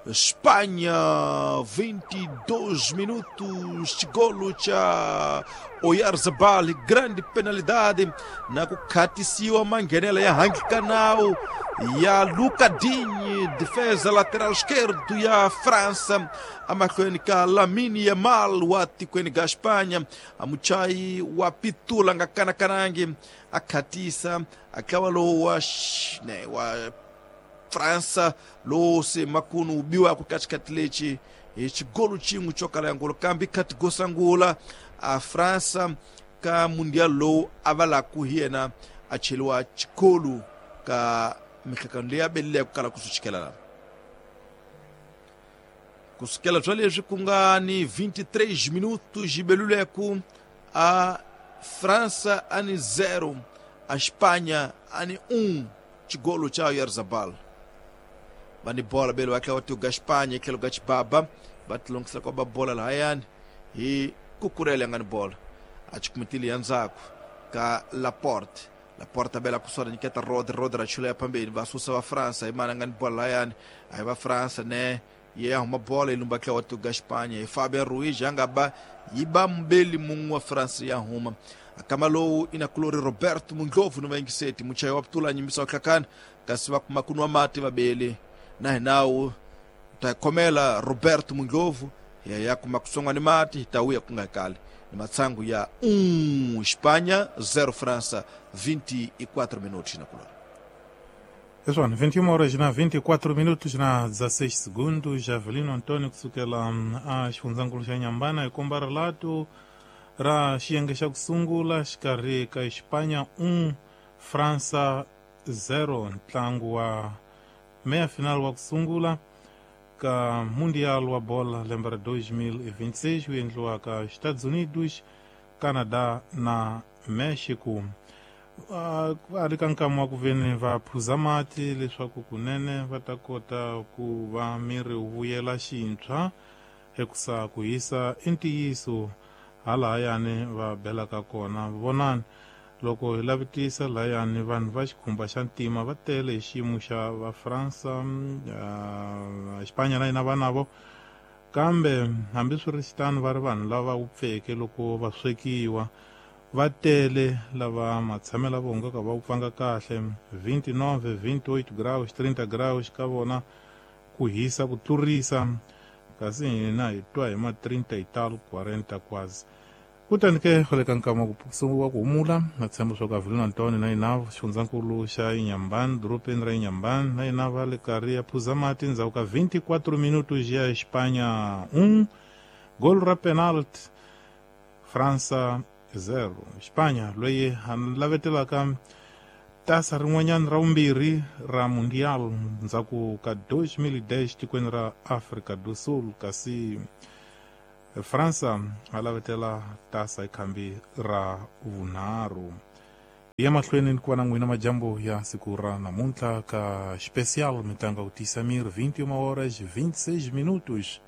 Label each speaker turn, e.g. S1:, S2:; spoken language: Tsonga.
S1: Espanha, 22 minutos, chigolo cha Oyarzabal, grande penalidade na kukhatisiwa mangenela ya Hangi Canal ya Luca Digne, defesa lateral esquerdo ya França, amahlweni ka Lamine Yamal wa tikweni ga Espanha, amuchai wa pitula nga kanakanangi akhatisa akawa lowu wa, ne, wa França lowu se makunu ubiwa ku katikati lechi xigolo xin'we xo kala ya ngolo kambe khati gosangula a França ka mundial lowu a va laku hi yena a cheliwa xikolo ka mihlekano leyi a belile ku kala ku swi chikela lava kusukela bya leswi ku nga ni 23 minutos yibeluleku a França a ni 0 a Espanha a ni 1 xigolo xa Oyarzabal va ni bola belo va tlhela va tiuga Espanha hi tlhelo ka xibaba va tilongisela kwa ba bola lahayani hi kukurela ya nga ni bola a chikumitile ya ndzhaku ka Laporte. Laporte bela kusona nyiketa Rodri, Rodri a chula ya phambeni va susa va França hi mani a nga ni bola lahayani a hi va França ne ye ya huma bola yi lumba tlhela wa tiuga Espanha hi Fabian Ruiz ya nga ba yi ba mbeli mun'we wa France ya huma akama lowu ina kulori Roberto Mundlovu ni vayingiseti muchayi wa putula nyimbisa wa hlakani kasi va kuma ku nwa mati vabeli na hinawu ta khomela Roberto Mundlovu ya ya kuma kusongwa ni mati ta wuya ku nga kali ni matsangu ya 1 Espanha 0 França 24 minutos na kulori.
S2: Pessoal, 21 horas na 24 minutos na 16 segundos, Javelino Antônio kusukela a xifundzhankulu xa Nyambana hi komba rilato ra xiyenge xa ku sungula xikarhi ka Espanha 1 França 0 ntlangu wa meia final wa ku sungula ka Mundial wa bola lembe ra 2026 wu endliwaka Estados Unidos, Canadá na Mexico. A ri ka nkama wa ku veni va phuza mati leswaku kunene va ta kota ku va miri wu vuyela xintshwa hikusa ku hisa i ntiyiso halahayani va belaka kona. Vonani loko hi lavitisa lahayani vanhu va xikhumba xa ntima va tele hi xiyimo xa va Fransa, Espanha na yina va navo, kambe hambiswiritano va ri vanhu lava wupfeke loko va swekiwa va tele lava matshamelo vo nga ka va wupfanga kahle 29 28 graus 30 graus ka vona ku hisa ku tlurisa, kasi hina hi twa hi ma 30 y tal 40 quase. Kutani ke khale ka nkama wa ku humula na tshemba swa ku Avelino Antônio na yina xifundzankulu xa Inhambane, dorobeni ra Inhambane, na yina va le karhi ya phuza mati ndzhaku ka 24 minutos ya Espanha 1 gol ra penalty França 0. Espanha loyi a lavetelaka tasa rin'wanyana ra vumbirhi ra Mundial ndzhaku ka 2010 tikweni ra Afrika do Sul, kasi França a lavetela tasa hi khambi ra vunharhu. Ya mahlweni ni ku va na n'wina majambu ya siku ra namuntlha ka special mitlangu ya ku tiyisa miri 21 horas 26 minutos.